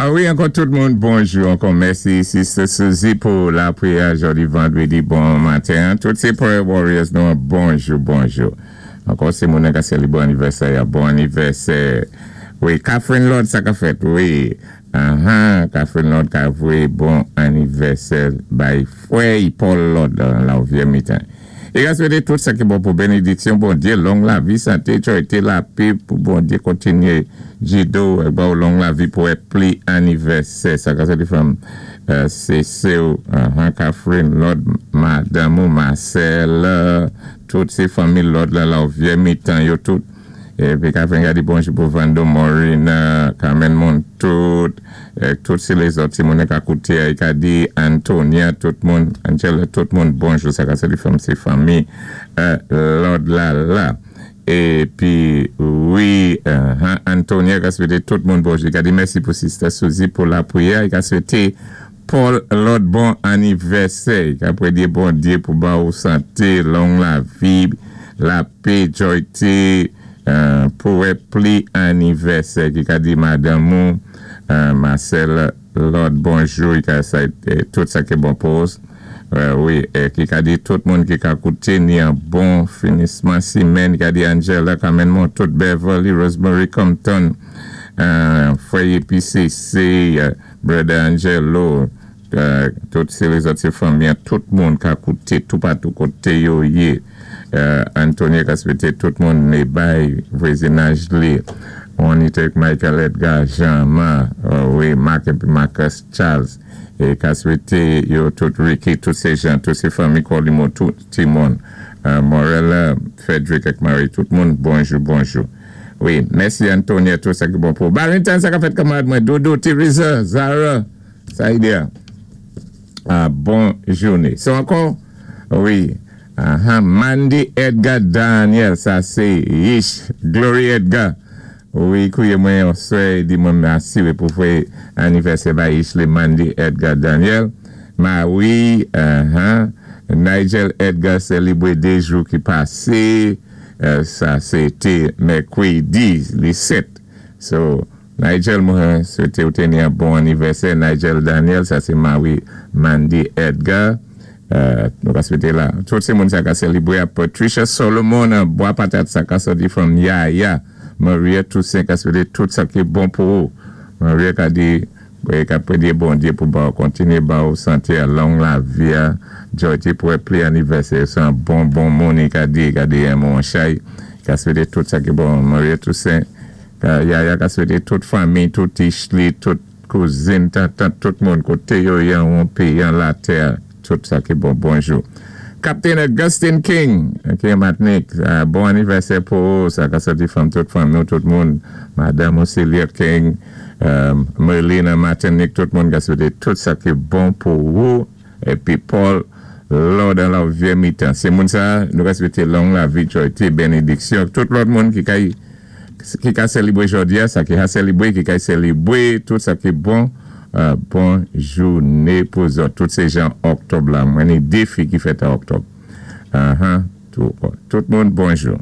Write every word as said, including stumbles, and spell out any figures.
Ah wi, ankò tout moun, bonjou. Ankò mèsi, Sister Suzy, pou lapriyè jòdi vandwédi bon maten. Tout sé prayer warriors, nou, bonjou, bonjou. Ankò sé moun ki sélibwé anivèsè, bon anivèsè. Wi, Catherine Lord, sa ka fèt, wi. Uh-huh, Catherine Lord ka voyé bon anivèsè bay fwè Paul Lord nan la Vyé Mitan. É ka swété tout sa ki bon pou bénédiksyon, Bondyé, long lavi, santé, jwa, lapè, pou Bondyé kontinyé jidé ou, bon, long lavi pou wè pli anivèsè. Sa ka swété from euh, sé sè uh, Catherine Lord, madanm ou Marcel, tout sé fanmi Lord la, la Vyé Mitan, yo tout. Épi Catherine ka di bonjou pou Vando Maureen, Carmen Montout, tout sé lézòt ti moun ka kouté, i ka di Antonia, tout moun, Angela, tout moun, bonjou, sa ka sé fanm, sé fanmi, Lord la la. Épi, wi, Antonia ka swété tout moun bonjou, i ka di mèsi pou Sister Suzy pou lapriyè, i ka swété Paul Lord bon anivèsè, i ka pwédyé Bondyé pou ba ou santé, long lavi, lapè, jwayté, pou wè pli anivèsè ki ka di madanm ou Marcel Lord bonjou, i ka sa tout sa ki bon pou wi, ki ka di tout moun ki ka kouté ni an bon finisman simenn, ki ka di Angela Carmen moun tout Beverly, Rosemary Compton, Foyer P C C, Brother Angelo, tout sé lézòt sé fanmi, tout moun ka kouté, tout patou koté yo yé. Antonio ka swété tout moun né bay vwazinaj li Juanita Michael Edgar Jean-Marc, wi, Mark épi Marcus Charles é ka swété yo tout Ricky, tout sé jan, tout sé fanmi Colimo, tout ti moun Morella, Frederick ak Marie, tout moun bonjou, bonjou. Wi, mèsi Antonio, tout sa ki bon pou Barrington, sa ka fèt kanmarad mwen, Dodo, Teresa, Zara, sa idea. Bon jouné. So ankò, wi, aha, Mandy Edgar Daniel, sa sé Yish, Glory Edgar. Wi, kouwé mwen swè, di mwen mèsi pou fwé anivèsè ba Yish lé Mandy Edgar Daniel. Ma wi, aha, Nigel Edgar sélibwé dé jou ki pasé, sa sé té mèkwédi, li sèt. So, Nigel mwen swété ou té ni an bon anivèsè, Nigel Daniel, sa sé mawi Mandy Edgar. Nou ka swété la. Tout sé moun sa ka sélibwé a Patricia Solomon, Bwa Patat sa ka soti from Yaya. Maria Toussaint ka swété tout sa ki bon pou ou. Maria ka di, ka pwédyé Bondyé pou ba ou kontinyé ba ou santé a long lavi a, jwayté pou wè pli anivèsè. Sé an bon bon moun ka di, ka di yon moun chay. Ka swété tout sa ki bon. Maria Toussaint, Yaya ka swété tout fanmi, tout ishli, tout kouzin, tant, tout moun koté yo yan ou péyi an latè. Tout sa ki bon, bonjou. Captain Augustine King, ki Matnik, bon anivèsè pou ou, sa ka soti fanm tout fanm nou, tout moun, Madame Celia King, Merlina Martinique, tout moun ka swété tout sa ki bon pou ou, épi Paul Lord an la Vyé Mitan. Sé moun sa, nou ka swété long lavi, jwayté, bénédiksyon, tout lòt moun ki kay, ki ka sélibwé jòdi a, sa ki ka sélibwé, ki ka sélibwé, tout sa ki bon, bon jouné pou zòt. Tout sé jan òktòb la. Mwen ni dé fi ki fèt an òktòb. Tout moun, bonjou.